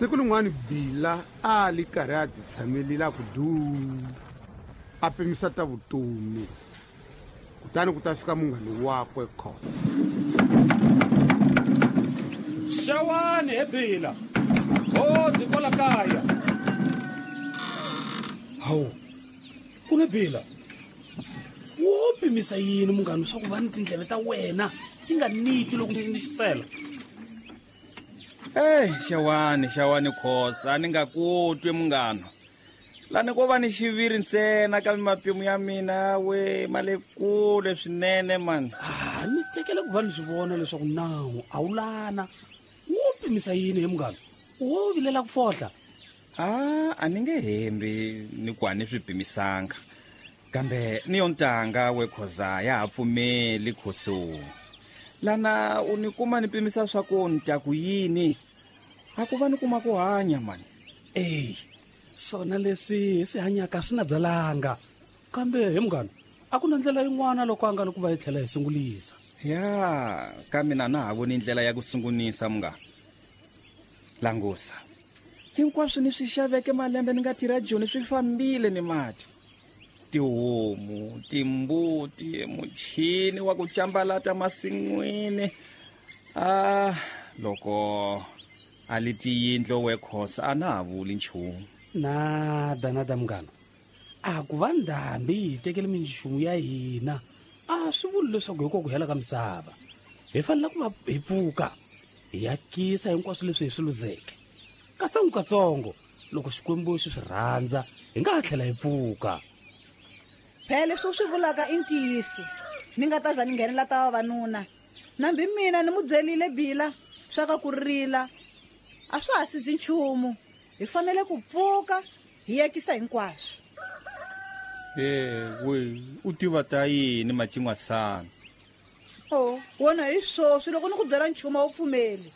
Siku rin'wana Bila a li karhi a titshamelile a ku duu, a pimisa ta vutomi. Kutani ku ta fika munghani wakwe Khosa. Xewani he Bila. Ho ndzi kwala kaya. Hawu, ku ne Bila. Wo pimisa yini munghani swa ku va ni tindleve ta wena ti nga niti loko ni xitsela? Ey, xewani, xewani Khosa, ni nga ku twi munghana. Lani ko va ni xiviri ntsena kambe mapimo ya mina we ma le kule swinene mani. Ah, ni tsakela ku va ni swi vona leswaku nawu a wu lana. Wo pimisa yini he munghana? Wo vilela ku fohla. Ah, a ni nge hembi ni ku a ni swi pimisanga. Kambe ni yo ntanga we Khoza ya ha pfumeli Khoso. Lana u ni kuma ni pimisa swa ku ni ta ku yini? A ku va ni kuma ku hanya mani. Ey, swona leswi hi swi hanyaka swi na byalanga. Kambe he munghana, a ku na ndlela yin'wana loko a nga ri ku va hi tlhela hi sungulisa. Ya, ka mina na ha voni ndlela ya ku sungulisa munghana. Langusa. Hinkwaswo ni swi xaveke malembe ni nga tirha Joni swi fambile ni mati. Tihomu, timbuti, muchini wa ku cambalata masin'wini. Ah, loko a li tiyindlo we Khosa a na ha vuli nchumu. Nada, nada munghana. A ku va ndhambi yi hi tekele minchumu ya hina a swi vuli leswaku hi ko ku hela ka misava. Hi fanele ku va hi pfuka hi yakisa hinkwaswo leswi hi swi luzeke. Katsongo-katsongo, loko Xikwembu xi swi rhandza, hi nga ha tlhela hi pfuka. Phela leswi u swi vulaka i ntiyiso. Ni nga ta za ni nghenela ta vavanuna. Nambi mina ni mu byelile Bila swa ka ku rila a swa ha sizi nchumu. Hi fanele ku pfuka hi yakisa hinkwaswo. E we, u tiva ta yini macin'wasana? O, wona hi swoswi loko ni ku byela nchumu a wu pfumeli.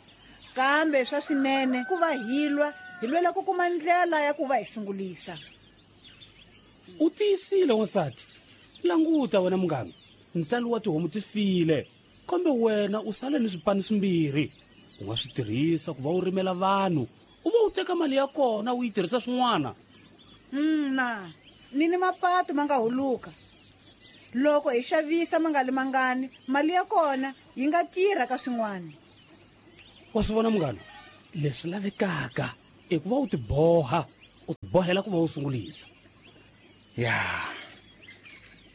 Kambe swa swinene ku va hi lwa, hi lwela ku kuma ndlela ya ku va hi sungulisa. U tiyisile wansati. Languta wena munghana, ntsalo wa tihomu ti file, kambe wena u sale ni swipani swimbirhi. U nga swi tirhisa ku va u rimela vanhu, u va u teka mali ya kona u yi tirhisa swin'wana. Na, ni ni mapatu ma nga huluka. Loko hi xavisa ma nga li mangani, mali ya kona yi nga tirha ka swin'wana. Wa swi vona munghana, leswi lavekaka i ku va u tiboha, u tibohela ku va u sungulisa. Ya,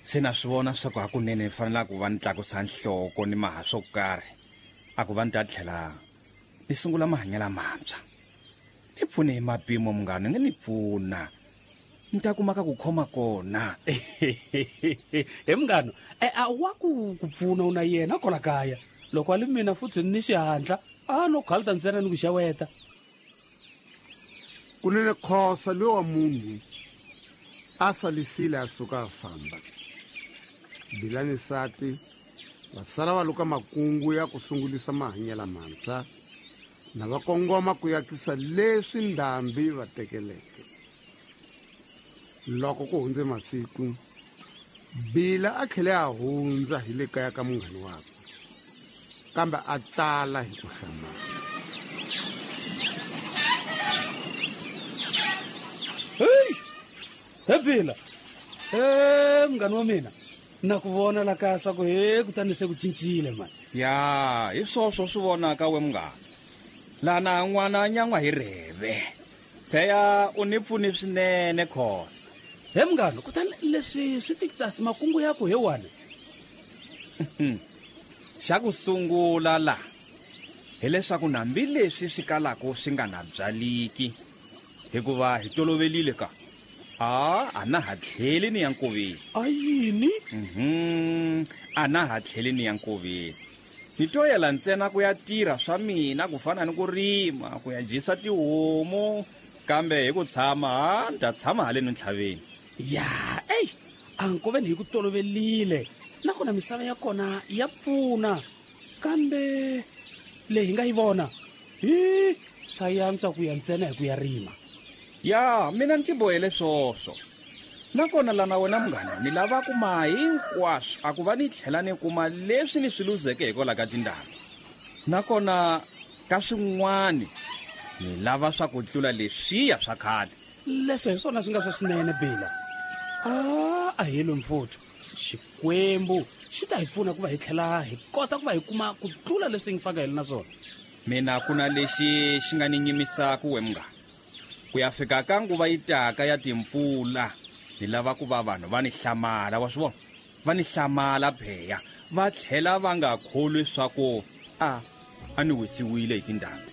se na swi vona swa ku hakunene ni fanela ku va ni tlakusa nhloko ni maha swo karhi, a ku va ni ta tlhela ni sungula mahanyelo lamantshwa. Ni pfune hi mapimo munghana, ni nge ni pfuna. Ni ta kuma ka ku khoma kona. He munghana, e, a wa ku ku pfuna u na yena kwala kaya. Loko a li mina futhi ni xihatla, a no khalta ntsena ni ku xeweta. Kunene Khosa loyi wa munhu a salisile a suka a famba. Bila ni nsati va sala va luka makungu ya ku sungulisa mahanyelo lamantshwa na va kongoma ku yakisa leswi ndhambi va tekeleke. Loko ku hundze masiku, Bila a tlhele a hundza hi le kaya ka munghani wakwe, kambe a tala hi ku hlamala. Hey! He Bila! He munghani wa mina, na ku vona la kaya swa ku he kutani se ku cincile mani. Ya, hi swoswo swi vonaka we munghana. Lana n'wana a nyan'wa hi rheve. Pheya u ni pfuni swinene Khosa. He munghana, kutani leswi swi tikitasi makungu ya ku he wani. Xa ku sungula la hileswaku nambi leswi swi kalaka swi nga na byaliki, hikuva hi tolovelile ka a a na ha tlheli ni ya nkoveni. A yini? A na ha tlheli ni ya nkoveni. Ni to yela ntsena ku ya tirha swa mina ku fana ni ku rima, ku ya dyisa tihomu, kambe hi ku tshama ha ni ta tshama haleni ntlhaveni. Ya, ey, a nkoveni hi ku tolovelile, nakona misava ya kona ya pfuna, kambe leyi hi nga yi vona hi swa yantswa ku ya ntsena hi ku ya rima. Ya, mina ni tibohele swoswo. Nakona lana wena munghana, ni lava ku ma hinkwaswo a ku va ni tlhela ni kuma leswi ni swi luzeke hikwalaho ka tindhambi. Nakona ka swin'wani Ni lava swa ku tlula leswiya swa khale. Leswo hi swona swi nga swa swinene Bila. A hi lwi mfuthu. Xikwembu xi ta hi pfuna ku va hi tlhela hi kota ku va hi kuma ku tlula leswi hi nga faka hi ri na swona. Mina ku na lexi xi nga ni nyimisaka we munghana. Ku ya fika ka nguva yi taka ya timpfula, ni lava ku va vanhu va ni hlamala, wa swi vona? Va ni hlamala pheya, va tlhela va nga kholwi swa ku a ni wisiwile hi tindhambi.